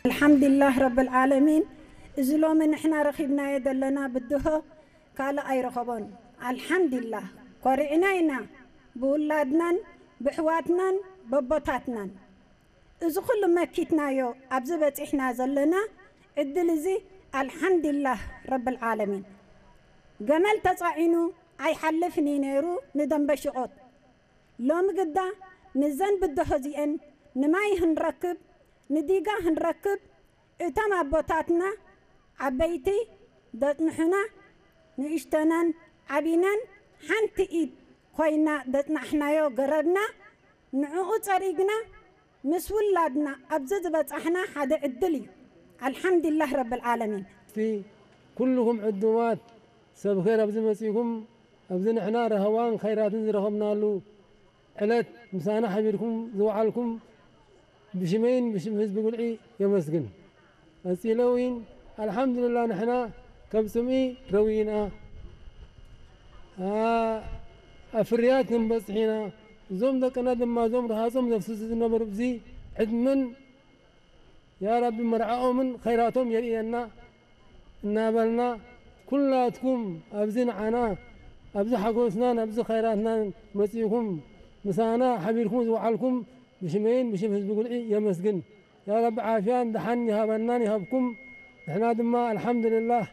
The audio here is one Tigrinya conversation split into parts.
ኣልሓምዱሊላህ ረብል ዓለሚን። እዚ ሎሚ ንሕና ረኺብናዮ ዘለና ብድሆ ካልእ ኣይረኸቦን። ኣልሓምዱሊላህ፣ ኮሪዕና ኢና ብውላድናን ብሕዋትናን በቦታትናን። እዚ ኩሉ መኪትናዮ ኣብዚ በጺሕና ዘለና ዕድል እዚ ኣልሓምዱሊላህ ረብል ዓለሚን። ገመል ተጻዒኑ ኣይሓልፍን እዩ ነይሩ ንደንበ ሽቖት። ሎሚ ግዳ ንዘን ብድሆ እዚኤን ንማይ ህንረክብ፣ ንዲጋ ህንረክብ፣ እቶም ኣቦታትና ዓበይቲ ደጽንሑና፣ ንእሽተናን ዓቢናን ሓንቲ ኢድ ኮይና ደጽናሕናዮ ገረብና፣ ንዕኡ ጸሪግና ምስ ውላድና ኣብዚ ዝበጻሕና ሓደ ዕድል እዩ። ኣልሓምዱሊላህ ረብል ዓለሚን። እስቲ ኩልኹም ዕዱማት ሰብ ኸይር ኣብዚ መጺእኩም፣ ኣብዚ ንሕና ረህዋን ኸይራትን ዝረኸብናሉ ዕለት ምሳና ሓቢርኩም ዝወዓልኩም ብሽመይን ብሽም ህዝቢ ጉልዒ የመስግን። ቀጺለ እውን ኣልሓምዱሊላህ ንሕና ካብ ጽምኢ ረዊና፣ ኣ፣ ኣብ ፍርያት ክንበጽሕ ኢና። እዞም ደቅና ድማ እዞም ረሃጾም ዘፍስሱ ዝነበሩ እዚ ዕድመን ያ ረቢ መርዓኦምን ኸይራቶም የርእየና እናበልና ኩላትኩም ኣብዚ ንዓና ኣብዚ ሓጎስናን ኣብዚ ኸይራትናን መጺእኩም ምሳና ሓቢርኩም ዝወዓልኩም ብሽመይን ብሽም ህዝቢ ጉልዒ የመስግን። ያ ረቢ ዓፍያን ደሓን ይሃበናን ይሃብኩም። ንሕና ድማ ኣልሓምዱሊላህ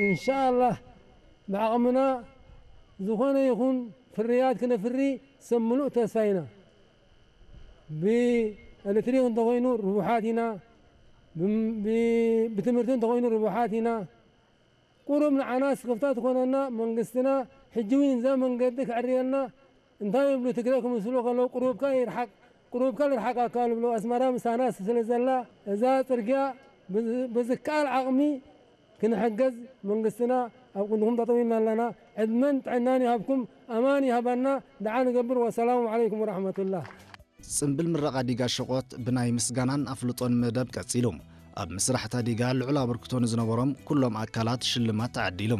ኢንሻኣላህ ብዓቕምና ዝኾነ ይኹን ፍርያት ክነፍሪ ሰብ ምሉእ ተስፋ ኢና። ብኤሌክትሪክ እንተኾይኑ ርቡሓት ኢና፣ ብም-፣ ብ-፣ ብትምህርቲ እንተኾይኑ ርቡሓት ኢና። ቁሩብ ንዓና ስክፍታ ትኾነና መንግስትና ሕጂ እውን እዛ መንገዲ ከዕርየልና እንታይ ይብሉ ትግረ ክምስሉ ከለዉ ቁሩብካ ይርሓቅ፣ ቁሩብካ ልርሓቃካ ልብሉ ኣስመራ ምሳና ስለ ዘላ እዛ ጽርግያ ብዝ-፣ ብዝከኣል ዓቕሚ ክንሕገዝ መንግስትና ኣብ ቅድሚኹም ጠጠው ኢልና ኣለና። ዕድመን ጥዕናን ይሃብኩም፣ ኣማን ይሃበና። ደዓ ንገብር። ወሰላሙ ዓለይኩም ወረሕመቱላህ። ጽምብል ምረቓ ዲጋ ሸቖት ብናይ ምስጋናን ኣፍልጦን መደብ ቀጺሉ። ኣብ ምስራሕ እታ ዲጋ ልዑል ኣበርክቶ ንዝነበሮም ኩሎም ኣካላት ሽልማት ተዓዲሉ።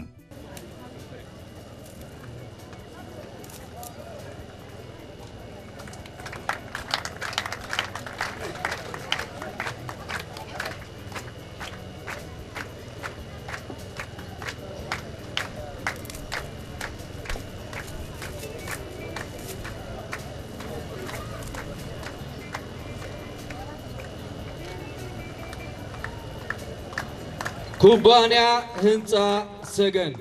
ኩባንያ ህንፃ ሰገን።